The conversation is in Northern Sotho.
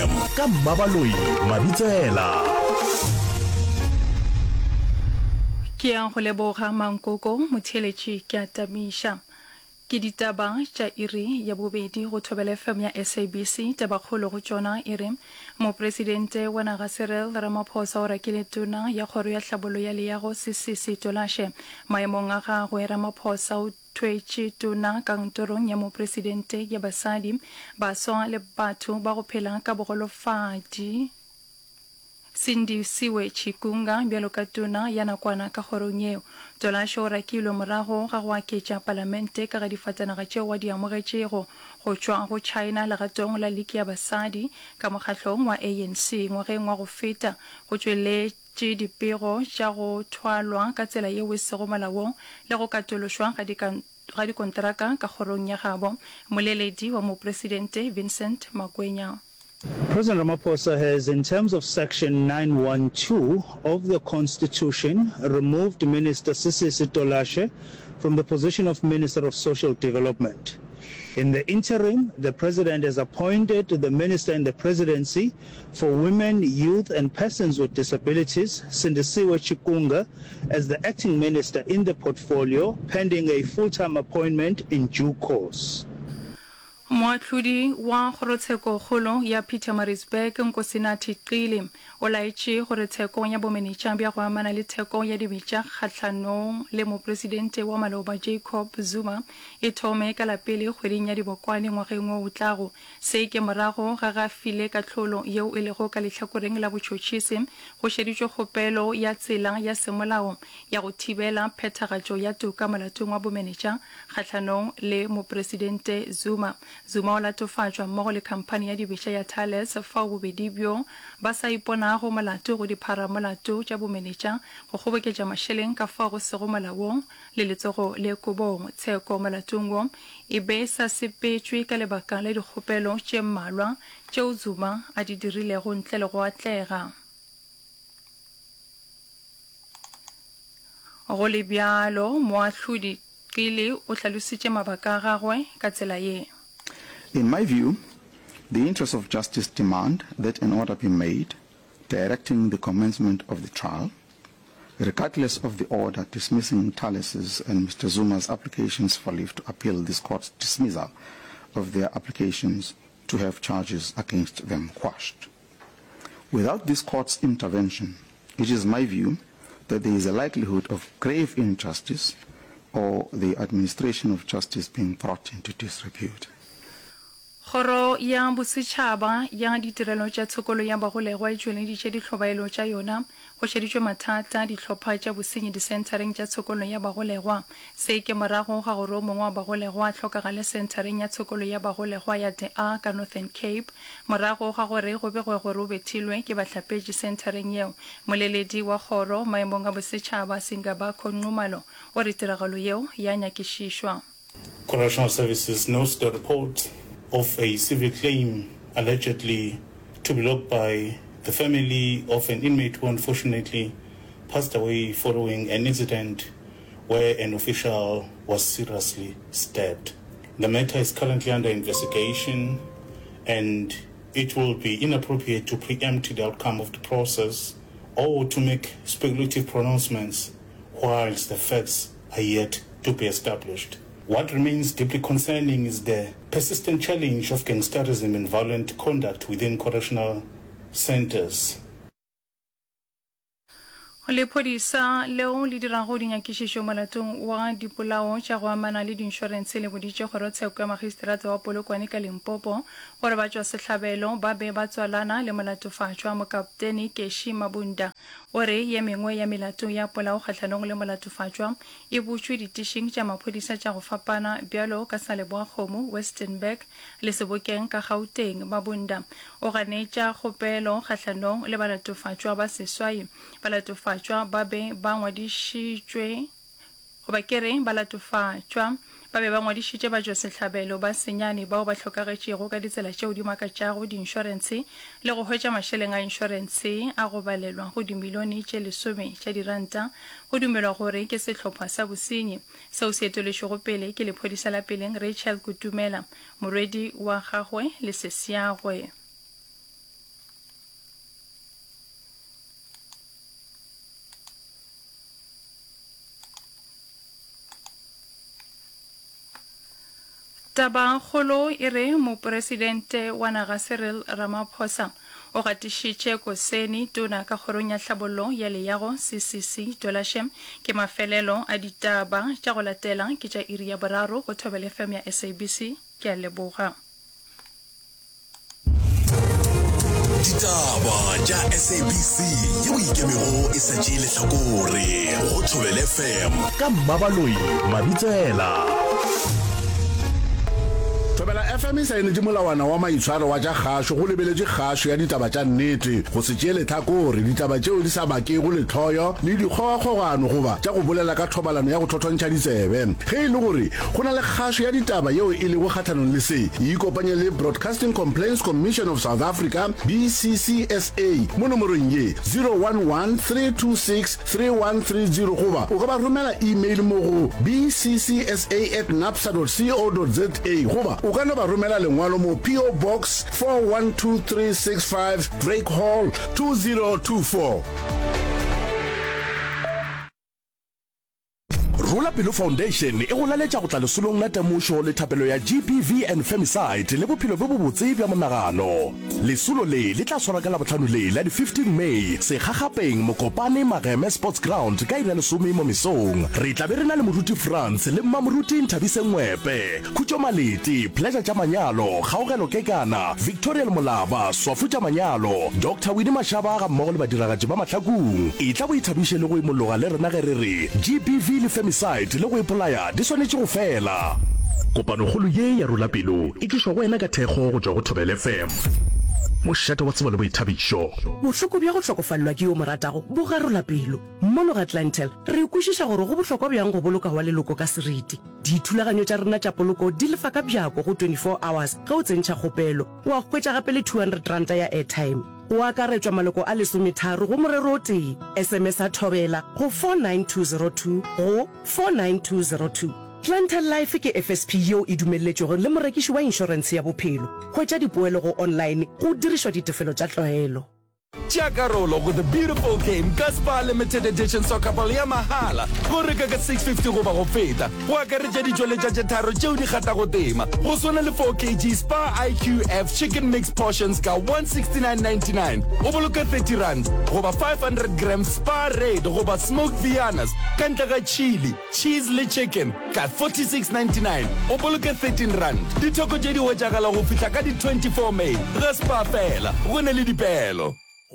FM ka Mmabaloi Mabitsela. Ke a go leboga Mankoko, motheeletši ke a tamiša. Ke ditaba tša iri ya bobedi go Thobela FM ya SABC. Tabakgolo go tšona e re, Mopresidente wa naga Cyril Ramaphosa o rakile Tona ya Kgoro ya Hlabollo ya Leago Sisisi Tolashe maemong a gagwe. Ramaphosa o thwetše Tona kantorong ya Mopresidente ya Basadi, Baswa le Batho ba go Phela ka Bogolofadi, Sindisiwe Chikunga bjalo ka Tona ya nakwana ka kgorong yeo. Tolashe o rakilwe morago ga go aketša Palamente ka ga difatanaga tšeo a di amogetšego go tšwa go China legatong la liki ya basadi ka mokgahlong wa ANC ngwageng wa go feta go tšweletše dipego tša go thwalwa ka tsela yeo e sego molaong le go katološwa ga ga dikonteraka ka kgorong ya gabo. Mmoleledi wa Mopresidente Vincent Magwenya. President Ramaphosa has, in terms of Section 912 of the Constitution, removed Minister Sisisi Tolashe from the position of Minister of Social Development. In the interim, the President has appointed the Minister in the Presidency for Women, Youth and Persons with Disabilities, Sindisiwe Chikunga, as the acting minister in the portfolio pending a full-time appointment in due course. Moahlodi wa Kgorotshekokgolo ya Pietermaritzburg, Nkosinathi Qili, o laetše gore tsheko ya bomenetša bja go amana le theko ya dibetša kgahlanong le Mopresidente wa maloba Jacob Zuma e thome ka la pele kgweding ya Dibokwane ngwageng wo o tlago. Se ke morago ga ge a file kahlolo yeo e lego ka lehlakoreng la botšhotšhisi go šeditšwe kgopelo ya tsela ya semolao ya go thibela phethagatšo ya toka molatong wa bomenetša kgahlanong le Mopresidente Zuma. Zuma o latofatšwa mmogo le khamphani ya dibetša ya Thales fao bobedi bjo ba sa iponago molato go dipharamolato tša bomenetša, go kgoboketša mašeleng ka fao go sego molaong le letsogo le kobong. Tsheko molatong wo e be e sa sepetšwe ka lebaka la dikgopelo tše mmalwa tšeo Zuma a di dirilego ntle le go atlega. Go le bjalo, Moahlodi Qili o hlalositše mabaka a gagwe ka tsela ye. In my view, the interests of justice demand that an order be made directing the commencement of the trial, regardless of the order dismissing Thales's and Mr Zuma's applications for leave to appeal this court's dismissal of their applications to have charges against them quashed. Without this court's intervention, it is my view that there is a likelihood of grave injustice or the administration of justice being brought into disrepute. Kgoro ya Bosetšhaba ya Ditirelo tša Tshokolo ya Bagolegwa e tšweleditše dihlobaelo tša yona go šeditšwe mathata a dihlopha tša bosenyi disenthareng tša tshokolo ya bagolegwa. Se ke morago ga gore o mongwe wa bagolegwa a hlokagale senthareng ya tshokolo ya bagolegwa ya De Aar ka Northern Cape morago ga gore go begwe gore o bethilwe ke bahlapetši senthareng yeo. Moleledi wa kgoro maemong a bosetšhaba Singabakho Nxumalo o re tiragalo yeo ya nyakišišwa. Correctional Services notes the report of a civil claim allegedly to be logged by the family of an inmate who unfortunately passed away following an incident where an official was seriously stabbed. The matter is currently under investigation and it will be inappropriate to preempt the outcome of the process or to make speculative pronouncements whilst the facts are yet to be established. What remains deeply concerning is the persistent challenge of gangsterism and violent conduct within correctional centres. Lephodisa leo le dirago dinyakišišo molatong wa dipolao tša go amana le diinšorense le boditše kgorotsheko ya magistrata wa Polokwane ka Limpopo gore batšwasehlabelo ba be ba tswalana le molatofatšwa Mokaptene Keshi Mabunda O re ye mengwe ya melato ya polao kgahlanong le molatofatšwa e butšwe ditišing tša maphodisa tša go fapana bjalo ka sa Leboakgomo, Westenburg le Sebokeng ka Gauteng. Mabunda o ganetša kgopelo kgahlanong le balatofatšwa ba seswai. Balatofatšwa ba be ba ngwadišitšwe Goba ke re, balatofatšwa ba be ba ngwadišitše batšwasehlabelo ba senyane bao ba hlokagetšego ka ditsela tšeo di makatšago diinšorentshe le go hwetša mašeleng a inšorentshe a go balelwa go dimilione tše lesome tša diranta. Go dumelwa gore ke sehlopha sa bosenyi seo se eteletšwego pele ke lephodisa la peleng Rachel Kutumela, morwedi wa gagwe le sesiagwe. Tabakgolo e re Mopresidente wa naga Cyril Ramaphosa o gatišitše Koseni tona ka kgorong ya tlhabollo ya leago, CCC, Tolashe. Ke mafelelo a ditaba tša go latela ke tša iri ya boraro go Thobela FM ya SABC. Ke a leboga. Ditaba tša SABC yeo e ikemego e sa tšee lehlakore go Thobela FM ka Mmabaloi Mabitsela. Thobela FM e saenetše molawana wa maitshwaro wa tša kgašo go lebeletše kgašo ya ditaba tša nnete, go se tšee lehlakore, ditaba tšeo di sa bakego lehloyo le dikgogakgogano goba tša go bolela ka thobalano ya go thothontšha ditsebe. Ge e le gore Go na le kgašo ya ditaba yeo e lego kgahlanong le se. Ikopanye le Broadcasting Complaints Commission of South Africa, BCCSA, mo nomorong ye, 011 326 3130 goba o ka ba romela email mo go bccsa at napsa dot co dot za goba o ka no ba romela lengwalo mo PO Box 412365 Drake Hall 2024. Rola Pelo Foundation e go laletša go tla lesolong la temošo le thapelo ya GBV and Femicide le bophelo bjo bobotse bja monagano. Lesolo le le tla swarwa ka Labohlano le la di 15 May, Sekgakgapeng, Mokopane, Mageme Sports Ground ka iri ya lesome mo mesong. Re tla be re na le Moruti Frans le Mmamoruti Nthabiseng Ngwepe, Khutšo Malete, Pleasure tša Manyalo, Kgaogelo Kekana, Victoriel Molaba, Swafu tša Manyalo, Doctor Winnie Mashaba gammogo le badiragatši ba mahlakong. Etla o ithabiše le go imologa le rena ge re re GBV le femicide le go ipolaya di swanetše go fela. Kopanokgolo ye ya Rola Pelo e tlišwa go wena ka thekgo go tšwa go Thobela FM, mošate wa tsebo le boithabišo. Bohloko bja go hlokofalelwa ke yo o mo ratago bo garola pelo. Mono ga Clientele, re kwešiša gore go bohlokwa bjang go boloka wa leloko ka seriti. Dithulaganyo tša rena tša poloko di lefa ka bjako go 24 hours ge o tsentšha kgopelo. Wa hwetša gape le R200 ya airtime. Go akaretšwa maloko a lesometharo go morero o tee. SMS-a Thobela go 49202 go 49202. Clientele Life ke FSP yeo e dumelletšwego le morekiši wa inšorentshe ya bophelo. Hwetša dipoelo go online go dirišwa ditefelo tša tlwaelo. Tšea karolo go The Beautiful Game ka Spar Limited Edition Soccer Ball ya mahala go reka ka 650 goba go feta, go akaretša ditšweletša tše tharo tšeo di kgathago tema, go swana le 4 kg Spar IQF Chicken Mix Portions ka 169.99, o boloke R30, goba 500 grams Spar Red goba Smoked Viennas ka ntle ga chili, cheese le chicken ka 46.99, o boloke R13. Ditheko tše di hwetšagala go fihla ka di 24 May ga Spar fela, go ne le dipeelo.